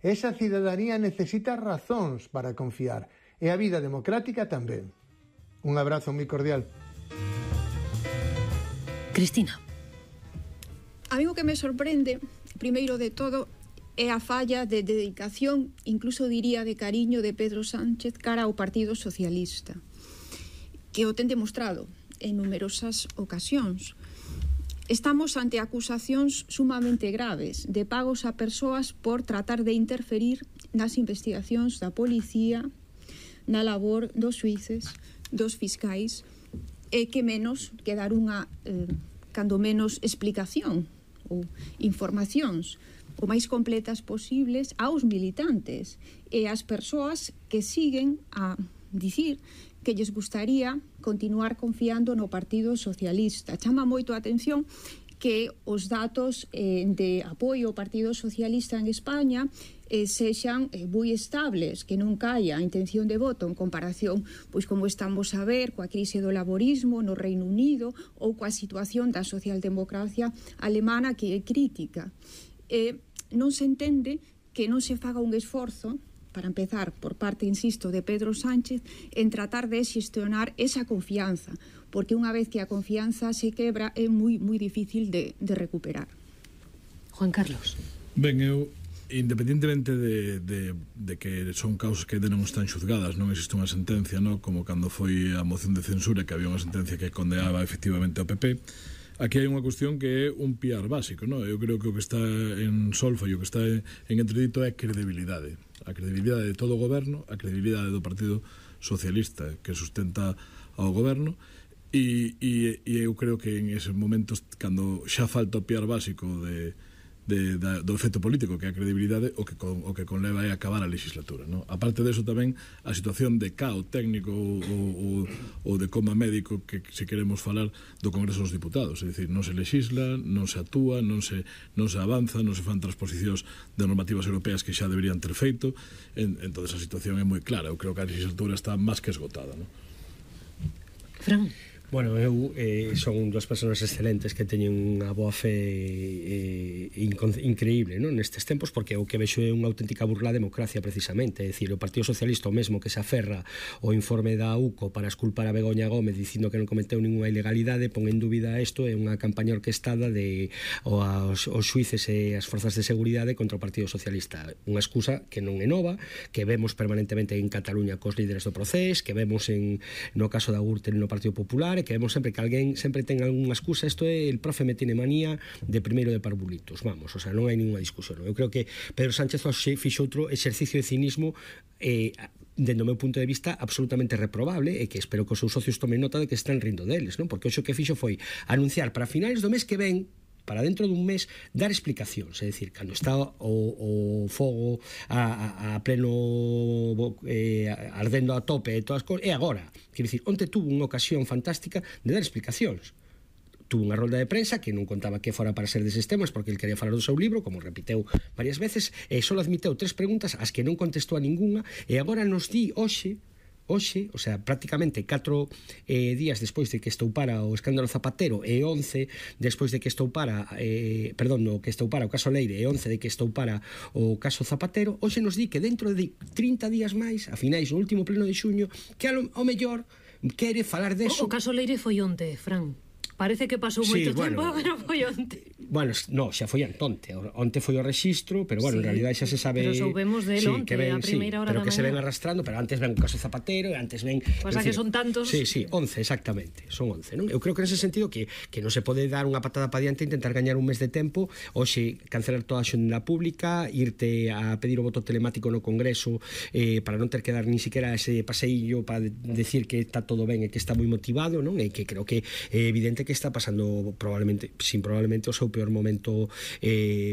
Esa cidadanía necesita razóns para confiar, e a vida democrática tamén. Un abrazo moi cordial. Cristina. A mí o que me sorprende, primeiro de todo, é a falla de dedicación, incluso diría de cariño, de Pedro Sánchez cara ao Partido Socialista, que o ten demostrado en numerosas ocasións. Estamos ante acusacións sumamente graves de pagos a persoas por tratar de interferir nas investigacións da policía, na labor dos xuíces, dos fiscais, e que menos que dar unha, cando menos, explicación ou informacións o máis completas posibles aos militantes e ás persoas que siguen a dicir que lles gustaría continuar confiando no Partido Socialista. Chama moito a atención que os datos de apoio ao Partido Socialista en España sexan moi estables, que non caia a intención de voto en comparación, pois como estamos a ver, coa crise do laborismo no Reino Unido ou coa situación da socialdemocracia alemana, que é crítica. Non se entende que non se faga un esforzo, para empezar, por parte, insisto, de Pedro Sánchez, en tratar de xestionar esa confianza, porque unha vez que a confianza se quebra é moi difícil de recuperar. Juan Carlos. Ben, eu, independentemente de que son causas que ainda non están xuzgadas, non existe unha sentencia, non? Como cando foi a moción de censura, que había unha sentencia que condenaba efectivamente ao PP. Aquí hai unha cuestión que é un piar básico, non? Eu creo que o que está en solfa e o que está en entredito é credibilidade. A credibilidade de todo o goberno, a credibilidade do Partido Socialista que sustenta ao goberno, e eu creo que en eses momentos, cando xa falta o piar básico do efecto político, que é a credibilidade, o que conleva é acabar a legislatura, non? A parte deso tamén a situación de caos técnico ou de coma médico que se queremos falar do Congreso dos Diputados, é dicir, non se legisla, non se actúa, non se avanza, non se fan transposicións de normativas europeas que xa deberían ter feito. Entón a situación é moi clara. Eu creo que a legislatura está máis que esgotada, non? Fran. Bueno, eu son dúas persoas excelentes que teñen unha boa fe increíble, non, nestes tempos, porque o que vexo é unha auténtica burla á democracia, precisamente. É dicir, o Partido Socialista, o mesmo que se aferra ao informe da UCO para esculpar a Begoña Gómez dicindo que non cometeu ninguna ilegalidade, pon en dúbida isto, é unha campaña orquestada aos xuíces e as forzas de seguridade contra o Partido Socialista. Unha excusa que non é nova, que vemos permanentemente en Cataluña cos líderes do Procés, que vemos no caso da Gürtel no Partido Popular, que vemos sempre que alguén sempre ten algunha excusa. Isto é, el profe me tiene manía de primeiro de parvulitos, vamos, o sea, non hai ninguna discusión, non? Eu creo que Pedro Sánchez fixo outro exercicio de cinismo dende o meu punto de vista absolutamente reprobable, e que espero que os seus socios tomen nota de que están rindo deles, non? Porque o que fixo foi anunciar para finais do mes que ven, para dentro dun mes, dar explicacións, é dicir, cando está o fogo a pleno ardendo a tope e todas as cousas, e agora, quer dicir, onte tuvo unha ocasión fantástica de dar explicacións. Tuvo unha rolda de prensa que non contaba que fora para ser deses temas, porque ele quería falar do seu libro, como repiteu varias veces, e só admiteu 3 preguntas as que non contestou a ninguna, e agora nos di hoxe, o sea, prácticamente 4 días despois de que estoupara o escándalo Zapatero e 11 despois de que estoupara o caso Leire e 11 de que estoupara o caso Zapatero, hoxe nos di que dentro de 30 días máis, a finais do último pleno de xuño, que ao mellor quere falar deso. O caso Leire foi onte, Fran. Parece que pasou moito tempo, pero foi onte. Bueno, no, xa foi onte. Onte foi o rexistro, pero bueno, en realidad xa se sabe. Pero soubemos del onte, a primeira hora da mañá. Pero que se ven arrastrando, pero antes ven o caso Zapatero, e antes ven... Pasa que son tantos... Sí, 11, exactamente, son 11, non? Eu creo que nese sentido que non se pode dar unha patada para diante e intentar gañar un mes de tempo, hoxe cancelar toda a xenda pública, irte a pedir o voto telemático no Congreso para non ter que dar ni siquiera ese paseillo para decir que está todo ben e que está moi motivado, non? E que creo que é evidente que está pasando probablemente o seu peor momento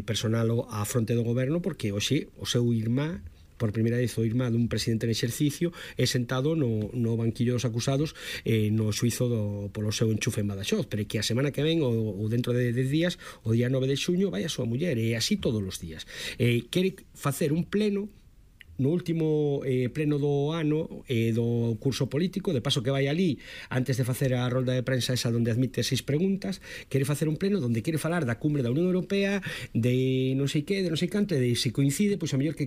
personal á fronte do goberno, porque hoxe o seu irmá, por primeira vez o irmá dun presidente en exercicio, é sentado no banquillo dos acusados no xuizo polo seu enchufe en Badaxoz, pero que a semana que ven ou dentro de 10 días, o día 9 de xuño, vai a súa muller, e así todos os días. Quere facer un pleno no último pleno do ano do curso político, de paso que vai ali antes de facer a rolda de prensa esa onde admite 6 preguntas, quere facer un pleno onde quere falar da cumbre da Unión Europea, de non sei que, de non sei canto, e de se coincide, pois a mellor que